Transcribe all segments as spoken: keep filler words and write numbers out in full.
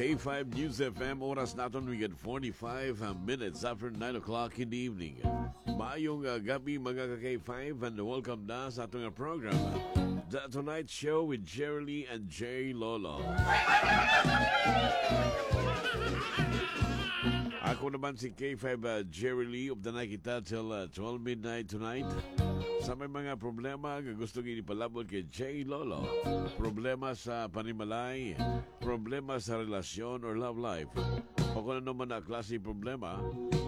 K five News F M, oras naton, we get forty-five minutes after nine o'clock in the evening. Maayong, uh, gabi, mga ka-K five, and welcome na sa atong, uh, program, The Tonight Show with Jerry Lee and Jay Lolo. Ako naman si K five, uh, Jerry Lee. Updanay kita till, uh, twelve midnight tonight. Sa may mga problema nga gusto gid ipalabot kay Jay Lolo, problema sa panimalay, problema sa relasyon or love life, o kung ano man na klase problema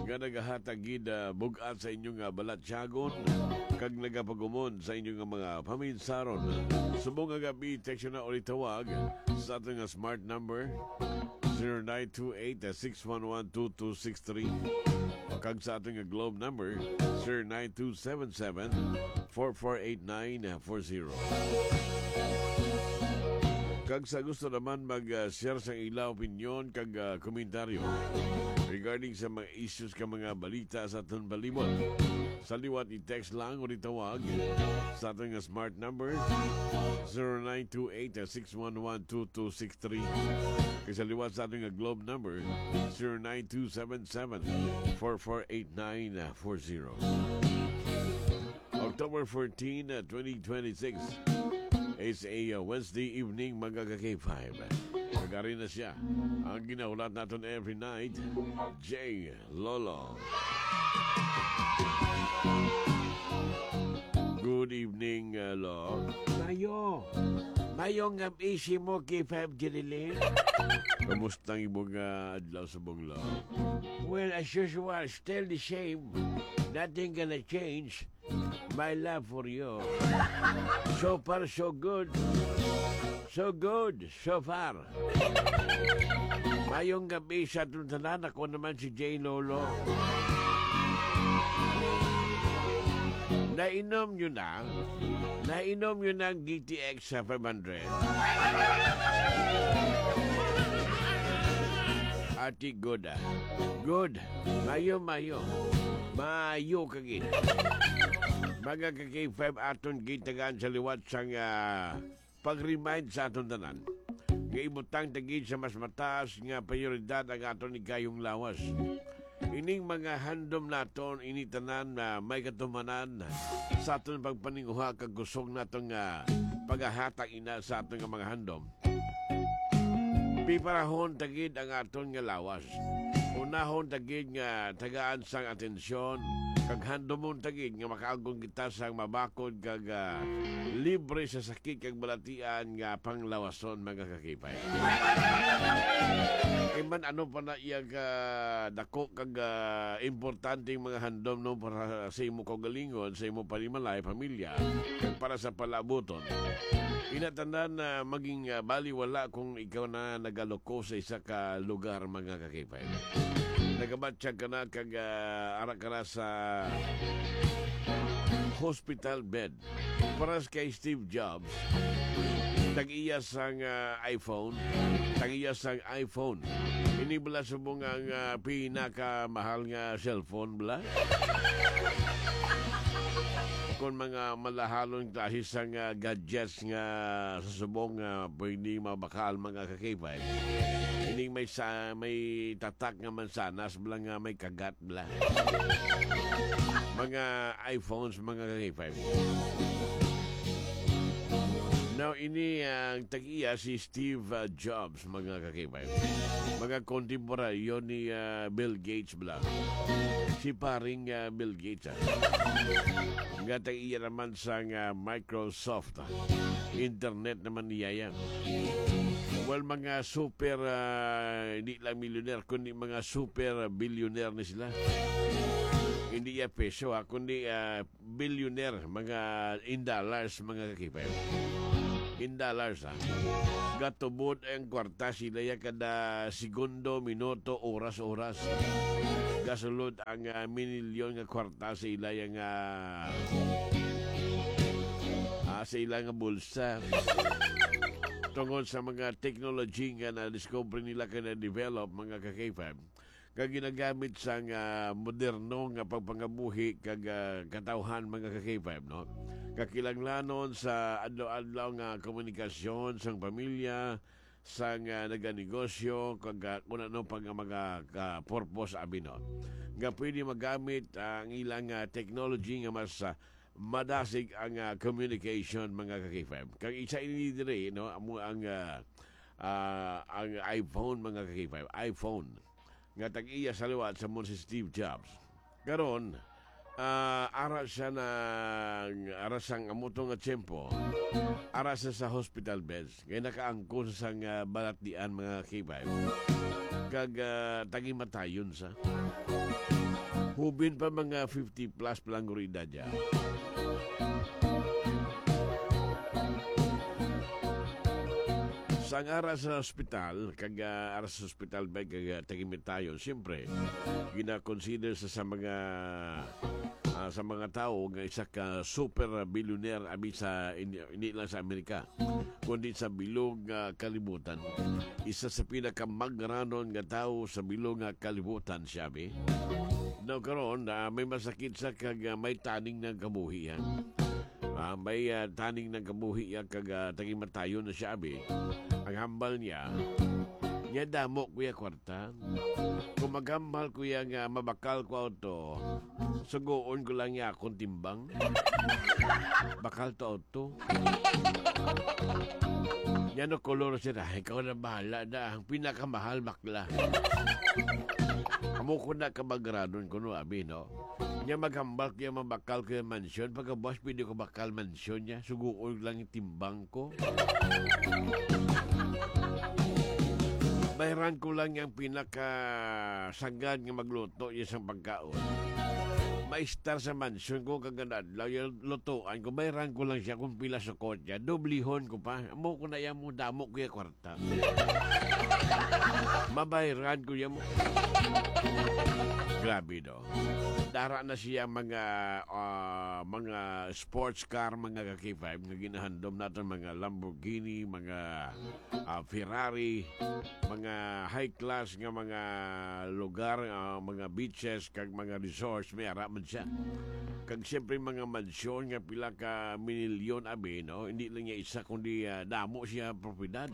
nga nagahatag gid, ah, bug-at sa inyong, ah, balatyagon kag nagapagumon sa inyong, ah, mga paminsaron. Subong nga gabi, text na o tawag sa ating, ah, smart number, zero nine two eight, six one one, two two six three, kag sa ating, ah, Globe number, zero nine two seven seven, four four eight nine four zero. Kag sa gusto naman mag, ah, share sa ila opinyon kag, ah, komentaryo regarding sa mga issues ka mga balita sa aton palibot, sa liwat i-text lang o itawag sa aton nga smart number, zero nine two eight, six one one, two two six three. Kag sa liwat sa aton nga Globe number, zero nine two seven seven, four four eight nine four zero. October fourteen, uh, twenty twenty-six is a, uh, Wednesday evening, mga ka-K five. Kag ari na siya, ang ginahulat naton every night, Jay Lolo. Good evening, uh, Lo. Mayo. Mayong gabi sa imo, K five Jeriline. Kamusta ang imong, uh, adlaw subong, Lo? Well, as usual, still the same. Nothing gonna change. My love for you. So far, so good. So good, so far. Mayong gabi sa atong tanan. Ako naman si Jay Lolo. Nainom nyo na? Nainom nyo na ang D T X sa five hundred? Ati, good, ah. Good. Mayo, mayo. Mayo ka gid. Mga ka-K five, aton gitagaan sa liwat sang, ah, pag-remind sa aton tanan nga ibutang ta gid sa mas mataas nga prioridad ang aton higayong lawas. Ining mga handom naton, ini tanan na may katumanan sa aton pagpaninguha kag kusog naton nga pagahatag ina sa aton nga mga handom. Piparahon ta gid ang aton nga lawas. Unahon ta gid nga tagaan sang atensyon, kag handomon ta gid nga makaagom kita sang mabakod kag, ah, libre sa sakit kag balatian nga panglawason, mga ka-K five. Kay man ano pa na iya ka dako kag, ah, importanteng mga handom, no, para sa imo kaugalingon, sa imo panimalay, pamilya, kag para sa palabuton. Ina tanan na maging, ah, baliwala kung ikaw na nagaluko sa isa ka lugar, mga ka-K five. Nagabatyag ka na kag, ah, ara ka na sa hospital bed. Paras kay Steve Jobs, tag-iya sang, ah, iPhone, tag-iya sang iPhone. Ini bala subong ang, ah, pinakamahal nga cellphone bala? Kon mga malahalon klase sang, ah, gadgets nga sa subong nga pwede mabakal, mga ka-K five. Ining may sa, may tatak nga mansanas bala nga may kagat bala. Mga iPhones, mga ka-K five. Now, ini ang tag-iya si Steve, uh, Jobs, mga ka-K five. Mga kontemporaryo ni, uh, Bill Gates bala. Si paring, uh, Bill Gates, ah. Nga tag-iya naman sa, uh, Microsoft. Internet naman niya yan. Well, mga super, ah, hindi lang millionaire, kundi mga super billionaire ni sila. Hindi ya peso, ha, kundi, ah, billionaire, mga in dollars, mga ka-K five. In dollars, ha. Gatubod ang kwarta sila ya kada segundo, minuto, oras, oras. Gasulod ang, ah, minilyon nga kwarta sa ila ya nga, ah, sa ila nga bulsa. Tungod sa mga technology nga na-discover nila kag na-develop, mga ka-K five, nga ginagamit sa nga moderno nga pagpangabuhi kag, ah, katawhan, mga ka-K five, no? Kakinahanglanon sa adlaw-adlaw nga komunikasyon sang pamilya, sang, ah, naganegosyo, kag, ah, kung ano pa nga mga ka-, purpose, abi, no? Nga pwede magamit, ah, ang ilang, ah, technology nga mas, ah, madasig ang, ah, communication, mga ka-K five. Kag isa ini diri, no, amo ang, ah, ah, ang iPhone, mga ka-K five. iPhone. Nga tag-iya sa liwat sa mo si Steve Jobs. Karon, ah, ara siya nang, ara sang amo to nga tiyempo, ara siya sa hospital beds, kay nakaangkon sa nga balatian, mga K five. Kag, ah, tagimatayon sa. Hubin pa, mga fifty plus pa lang guro edad niya. Sang ara sa ospital, kag, ah, ara sa ospital ba, kag, ah, tagimatayon, siyempre, gina-consider sa, sa mga, ah, sa mga tawo nga isa ka super billionaire abi sa, hindi, hindi lang sa Amerika, kundi sa bilog nga kalibutan. Isa sa pinakamagranon nga tawo sa bilog nga kalibutan siya, abi. Now, karon, ah, may masakit sa kag, ah, may taning ng kabuhi, ha? Ah, may, ah, taning ng kabuhi, ah, kag, ah, tagimatayon na siya, abi. Ang hambal niya, niya damo, kuya, kwarta. Kung maghambal, kuya, nga mabakal ko auto, sugoon ko lang niya akong timbang. Bakal to auto. Yan o kolor siya. Ikaw na bahala na. Ang pinakamahal, bakla. Amo ko na kamagranon ko, no, abi, no? Nya maghambal ko yung mabakal ko yung mansyon. Pagkabuas, pwede ko bakal mansyon niya. Suguon lang yung timbang ko. Bayran ko lang yung pinakasagad nga magluto niya sa pagkaon. Maistar sa mansyon ko kag adlaw yung lutuan ko. Bayran ko lang siya kung pila sukot niya. Doblihon ko pa. Amo ko na yan mo, damo ko yung kwarta. Mabayran ko yan mo. Grabe, no? Dara na siya mga, ah, mga sports car, mga ka-K five, nga ginahandom naton, mga Lamborghini, mga, ah, Ferrari, mga high class nga mga lugar, ah, mga beaches, kag mga resorts, may ara man siya. Kag siyempre, mga mansyon nga pila ka minilyon, abi, no? Hindi lang niya isa, kundi, ah, damo siya propiedad.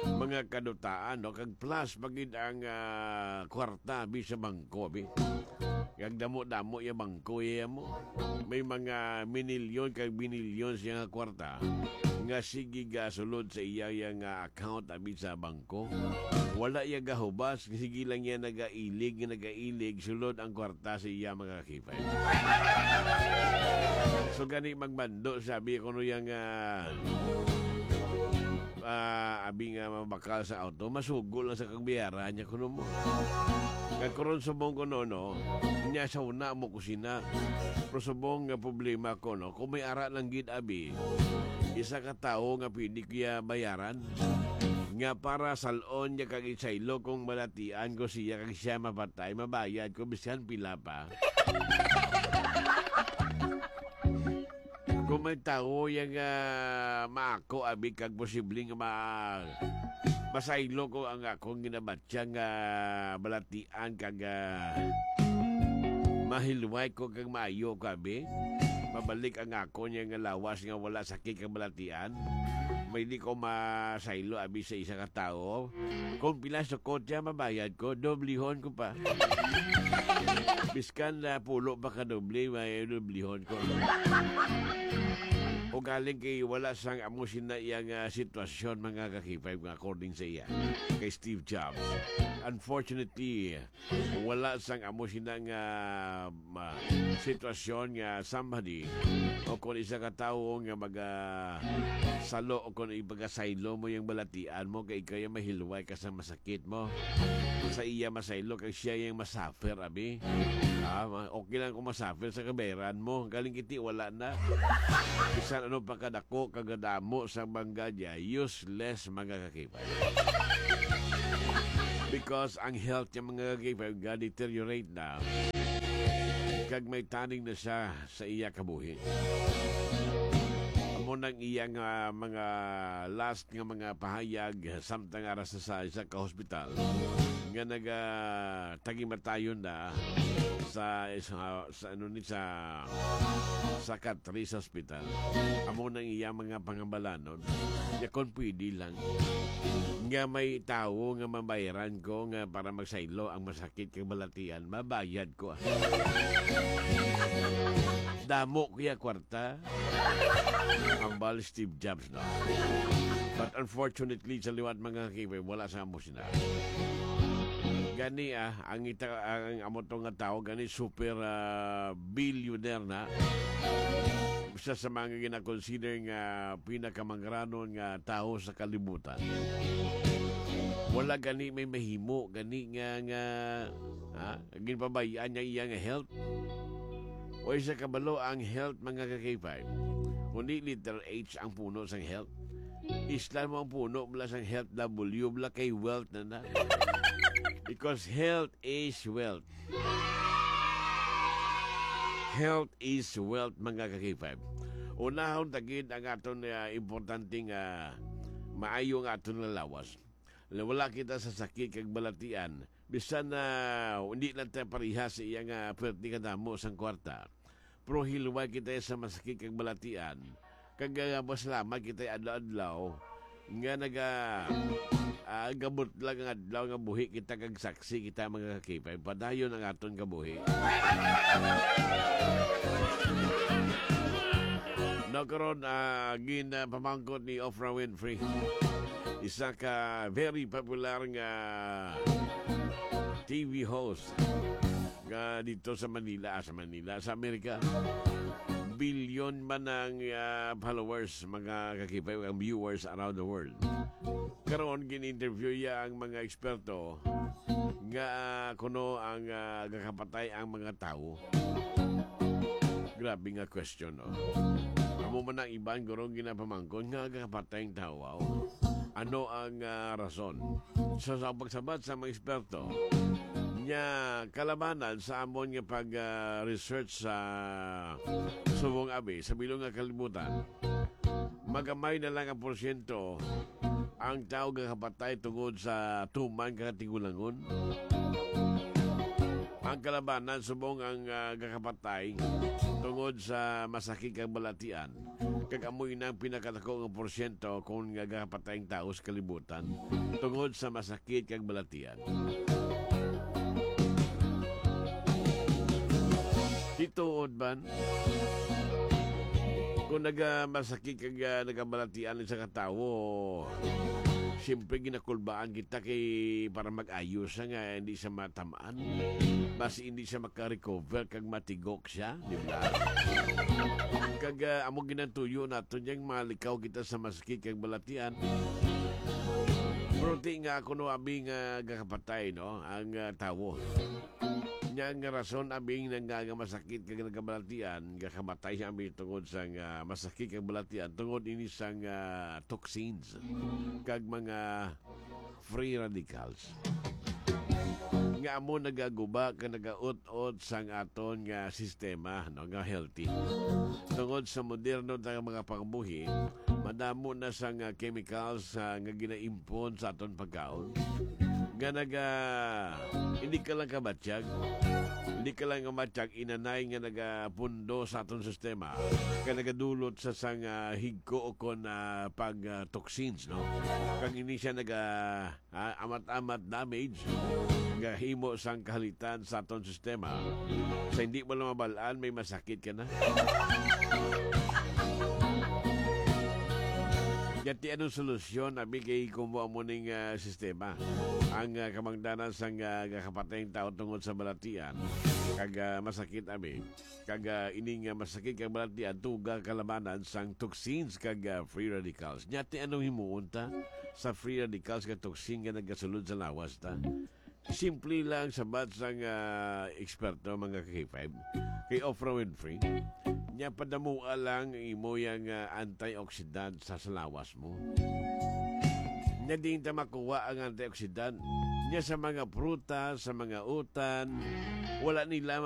Mga kadutaan, no? Kag plus, pagid ang, ah, kwarta, abi, sa bangko, abi. Kag damo-damo yung bangko, iya mo. May mga minilyon kag binilyon siya nga kwarta nga sige gasulod sa iya, iya nga account, abi, sa bangko. Wala iya gahubas, sige lang iya nagailig, nagailig, sulod ang kwarta sa iya, mga ka-K five. So, gani magmando, sabi ko no yang, ah, ah, abi nga mabakal sa auto, masugo lang sa kagbiyaran niya kuno mo. Nga karon subong ko no, no, niya sa una mo kusina. Pero subong nga problema ko, no, kung may ara lang gid, abi, isa ka tawo nga pwede ko iya bayaran, nga para salon niya kag isaylo kung malatian ko siya kag siya mapatay, mabayad ko bisan pila pa. Kung may tawo yang, ah, maako, abi, kag posibleng ma-, masaylo ko ang akong ginabatyang, ah, balatian kag, ah, mahilway ko kag maayo ko, abi. Mabalik ang akon yang lawas nga wala sakit kag balatian. May di ko masaylo, abi, sa isa ka tawo. Kung pila sukot siya, mabayad ko, doblihon ko pa. Biskan na pulo pa ka doble, may doblihon ko. O galing kay wala sang amo sina iyang, ah, sitwasyon, mga ka-K five, nga according sa iya, kay Steve Jobs. Unfortunately, wala sang amo sina nga, ma-, sitwasyon nga somebody o kung isa ka tawo nga maga-, salo o kung ipagasaylo mo yung balatian mo kay ikaw yung mahilway ka sa masakit mo. Sa iya masaylo kay siya yung masuffer, abi. Ah, ma-, okay lang kung masuffer sa kabayaran mo. Galing kiti, wala na. Bisan ano pa kadako, kagadamo sa bangga niya, useless, mga ka-K five. Because ang health niya, mga ka-K five, ga-deteriorate na. Kag may taning na siya sa iya kabuhi. Amo Amo nang iya nga mga last nga mga pahayag samtang ara sa, sa isa ka hospital nga nagatagimatayon na sa, sa, sa, ano ni, sa, sa Catrice Hospital. Amo nang iya mga pangabalanon. Ya, kung pwede lang, nga may tawo nga mabayaran ko nga para magsaylo ang masakit kag balatian, mabayad ko, ah. Damo kuya kwarta. Hambal Steve Jobs, no? But unfortunately, sa liwat mga kakipay, wala sa amo sina. Gani, ah, ang ita-, ang amo to nga tao, gani super, ah, billionaire na. Isa sa mga ginakonsider nga pinakamangranon nga tao sa kalibutan. Wala gani may mahimo, gani nga, nga, ha? Ginpabayaan niya iya nga health. O isa kabalo ang health, mga ka-K five. Kundi letter H ang puno sang health. Islan mo ang puno, bala sang health, W, bala kay wealth na na. Because health is wealth. Health is wealth, mga ka-K five. Unahon ta gid ang aton, ah, importante nga maayo nga aton nga lawas. Wala kita sa sakit kag balatian. Bisan na hindi lang ta pareha sa iya nga pwerte kadamo sang kwarta. Pero hilway kita sa masakit kag balatian. Kag, ah, pasalamat kita adlaw-adlaw nga naga, ah, gabot lang ang adlaw nga buhi kita kag saksi kita, mga ka-K five. Padayon ang aton kabuhi. No, karon, ah, gin, ah, pamangkot ni Oprah Winfrey, isa ka very popular nga T V host nga dito sa Manila, ah, sa Manila, sa Amerika. Bilyon man ang, ah, followers, mga ka-K five, ang viewers around the world. Karon, gin-interview niya ang mga eksperto nga, ah, kuno ang, ah, gakapatay ang mga tawo. Grabe nga question, no? Amo man ang iban, guro, ginapamangkon nga gakapatay ang tawo, aw. Ano ang, ah, rason? Sa, sa pagsabat sa mga eksperto, nya kalabanan sa amon nga pag, ah, research sa subong abi, sa bilog nga kalibutan, magamay na lang ang porsyento ang tawo gakapatay tungod sa tuman kag tigulangon. Ang kalabanan subong ang, ah, gakapatay tungod sa masakit kag balatian, kag amo ina ang pinakadako nga porsyento kon nga gakapatay ang tawo sa kalibutan tungod sa masakit kag balatian. Tituod man, kung naga-, masakit kag, ah, nagabalatian sa katawo, siyempre ginakulbaan kita kay para mag-ayos siya nga hindi siya matamaan. Basi hindi siya maka-recover kag matigok siya, di ba? Kag, ah, amo ginatuyo naton yang malikaw kita sa masakit kag balatian. Pero ti nga kuno abi nga gakapatay, no, ang, ah, tawo. Nya nga rason abi nga, nga masakit kag nagabalatian, gakamatay siya abi tungod sa nga masakit kag balatian, tungod ini sang, ah, toxins kag mga free radicals nga amo nagaguba kag nagaut-ot sang aton nga sistema, no, nga healthy. Tungod sa moderno nga mga pangbuhi, madamo na sang, ah, chemicals, ah, nga ginaimpon sa aton pagkaon nga naga, hindi ka lang kabatyag, hindi ka lang kabatyag, inanay nga nagapundo sa aton sistema, kag nagadulot sa sang, ah, higko o kon, ah, pag, ah, toxins, no? Kag ini siya naga, ah, amat-amat damage nga himo sang kahalitan sa aton sistema. Sa hindi mo lang mabal-an, may masakit ka na. Yati, anong solusyon, abi, kay kumo amo ning, ah, sistema? Ang, ah, kamangdanan sang, ah, gakapatay ang tao tungod sa balatian, kag, ah, masakit, abi. Kag, ah, ini nga masakit kag balatian, tuga kalabanan sang toxins kag, ah, free radicals. Nya, ti anong himuon ta sa free radicals kag toxin nga nagasulod sa lawas ta? Simple lang sabat sang, ah, eksperto, mga ka-K five, kay Oprah Winfrey. Nya, padamua lang ang imo yang, ah, antioxidant sa, sa lawas mo. Nya, diin ta makuha ang antioxidant? Nya, sa mga prutas, sa mga utan, wala nila